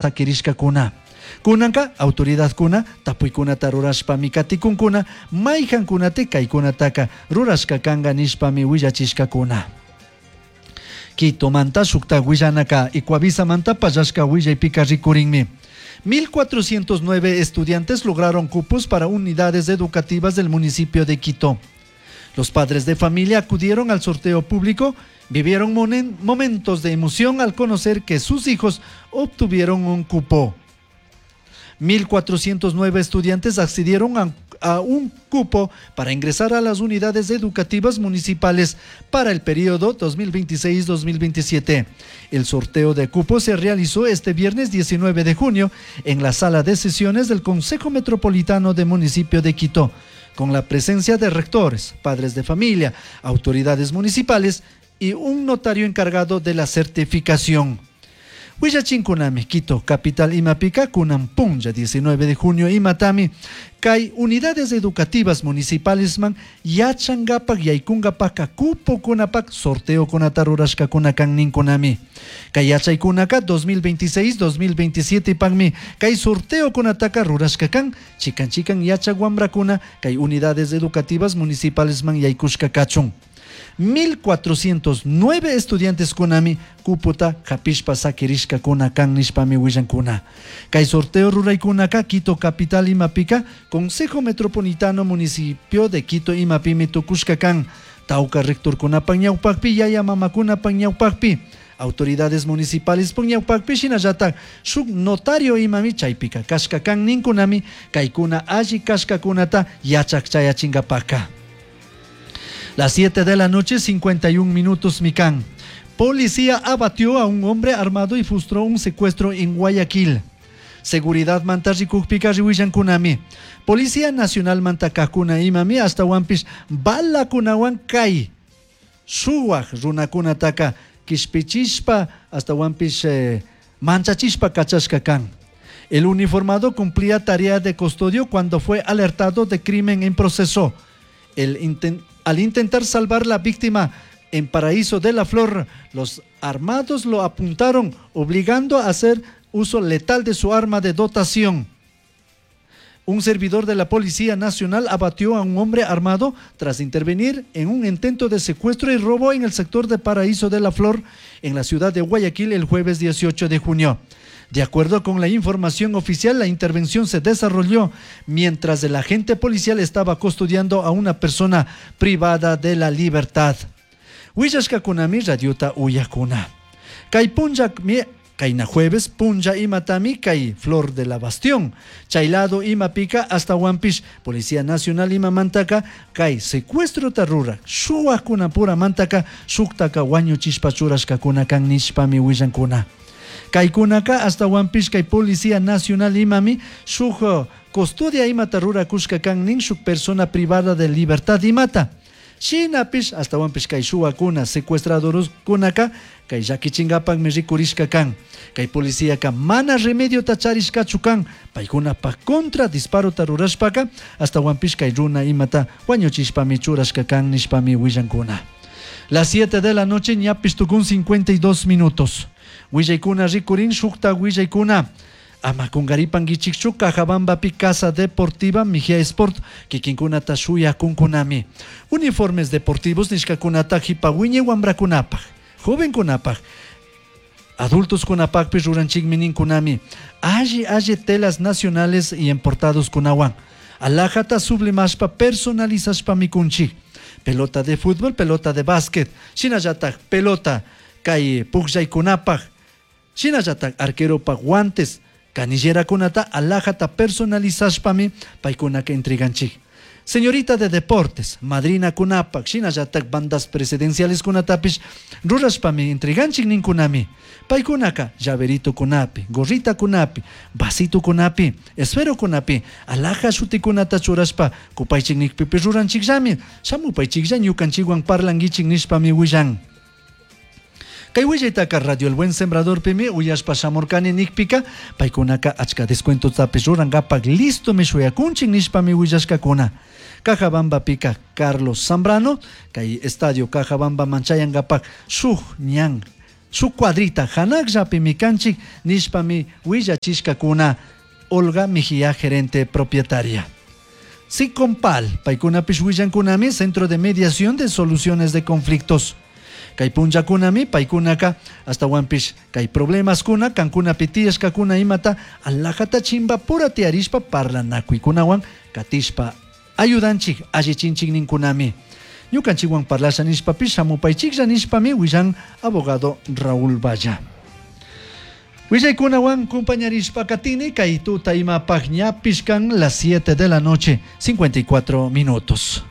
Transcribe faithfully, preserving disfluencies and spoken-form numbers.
Saquirishkakuna. Kunanka autoridadkuna tapuykunata rurashpami katikunkuna mayhankunati kaykunataka rurashka kanka nishpami willachishkakuna. Quitomanta shukta willanaka Ecuavisamanta pallashka willaypika rikurinmi. mil cuatrocientos nueve estudiantes lograron cupos para unidades educativas del municipio de Quito. Los padres de familia acudieron al sorteo público, vivieron momentos de emoción al conocer que sus hijos obtuvieron un cupo. mil cuatrocientos nueve estudiantes accedieron a, a, un cupo para ingresar a las unidades educativas municipales para el periodo dos mil veintiséis dos mil veintisiete. El sorteo de cupos se realizó este viernes diecinueve de junio en la sala de sesiones del Consejo Metropolitano del municipio de Quito, con la presencia de rectores, padres de familia, autoridades municipales y un notario encargado de la certificación. Willachinkunami, Quito, capital imapika, kunan punlla diecinueve de junio imatami, kay unidades educativas municipales man yachangapak yaykungapak kupokunapak sorteo kunata rurashkakuna kan ninkunami. Kay yachaykunaka dos mil veintiséis dos mil veintisiete pakmi kay sorteo kunataka rurashka kan chikan chikan yachak wambrakuna kay unidades educativas municipales man yaykushka kachun. mil cuatrocientos nueve estudiantes kunami kuputa hapishpa sakirishkakuna kan nishpami willankuna. Kay sorteo ruraykunaka Quito capital imapika Consejo Metropolitano Municipio de Quito imapimi tukushka kan. Tawka rectorkunapak ñawpakpi, yaya mamakunapak ñawpakpi, autoridades municipales ñawpakpi, shinallatak shuk notario imami chaypika kashka kan ninkunami kaykuna alli kashkakunata yachak chayachinkapaka. Las siete de la noche, cincuenta y un minutos mikan. Policía abatió a un hombre armado y frustró un secuestro en Guayaquil. Seguridad manta rikukpika riwillankunami. Policía Nacional manta kakuna imami ashtawanpish balakunawan kay shuwak runakunataka kishpichishpa ashtawanpish eh, manchachishpa kachashka kan. El uniformado cumplía tarea de custodio cuando fue alertado de crimen en proceso. El inten al intentar salvar la víctima en Paraíso de la Flor, los armados lo apuntaron, obligando a hacer uso letal de su arma de dotación. Un servidor de la Policía Nacional abatió a un hombre armado tras intervenir en un intento de secuestro y robo en el sector de Paraíso de la Flor, en la ciudad de Guayaquil, el jueves dieciocho de junio. De acuerdo con la información oficial, la intervención se desarrolló mientras el agente policial estaba custodiando a una persona privada de la libertad. Willashkakunami radiota uyakuna. Kay punlla kayna jueves punlla imatami kay Flor de la Bastión. Chaylado imapika ashtawanpish Policía Nacional imamantaka kay secuestro ta rurak shuwakuna puramantaka shuktaka wañuchishpa churashkakuna kan nishpami willankuna. Kaykunaka ashtawanpish kay Policía Nacional imami shuk custodia imata rurakushka kan nin shuk persona privada de libertad imata. Shinapish ashtawanpish kay shuwakuna secuestradorkunaka kay llakichinkapakmi rikurishka kan. Kay policíaka mana remediota charishkachu kan paykunapa contra disparota rurashpaka ashtawanpish kay runa imata wañuchishpami churashka kan nishpami willankuna. Las siete de la noche ñapish tukun cincuenta y dos minutos. Willaykuna rikurin shukta willaykuna. Ama kunkaripankichikchu, Cajabambapi Casa Deportiva Mejía Sport kikinkunata shuyakunkunami. Uniformes deportivos nishkakunata jipa wiñay wambrakunapaj, jovenkunapaj, adultos kunapakpish ruranchikmi ninkunami. Alli alli telas nacionales y importados kunawan. Alhajata sublimashpa personalizashpa mikunchik. Pelota de fútbol, pelota de básquet, shinallatak pelota kay pukllaykunapaj, shinallatak arqueropak guantes, canillerakunata alhajata personalizashpami paykunaka entreganchik. Señorita de deportes, madrina kunapak, shinallatak bandas presidenciales kunatapish rurashpami entreganchik ninkunami. Paykunaka llaverito kunapi, gorrita kunapi, vasito kunapi, esfero kunapi, alhaja shutikunata churashpa kupaychik nikpipish ruranchikllami, shamupaychiklla ñukanchikwan parlankichik nishpami willan. Kay willaytaka Radio El Buen Sembrador pimi uyashpa shamurkani nikpika paykunaka achka descuentotapish rurankapak listo mi shuyakunchik nishpami willashkakuna. Cajabambapika Carlos Zambrano, kay estadio Cajabamba man chayankapak shuk ñan Shuk cuadrita hanakllapimi kanchik nishpami willachishkakuna Olga Mejía, gerente propietaria. Sicompal, paykunapish willankunami Centro de Mediación de Soluciones de Conflictos. Kay punllakunami paykunaka ashtawanpish kay problemaskuna kankunapi tiyashkakuna imata alajata chimbapura tiyarishpa parlanakuykunawan katishpa ayudanchik allichinchik ninkunami. Ñukanchikwan parlasha nishpapish shamupaychiklla nishpami willan abogado Raúl Valla. Willaykunawan compañarishpa katini kay tuta imapaq ñapish kan las siete de la noche, cincuenta y cuatro minutos.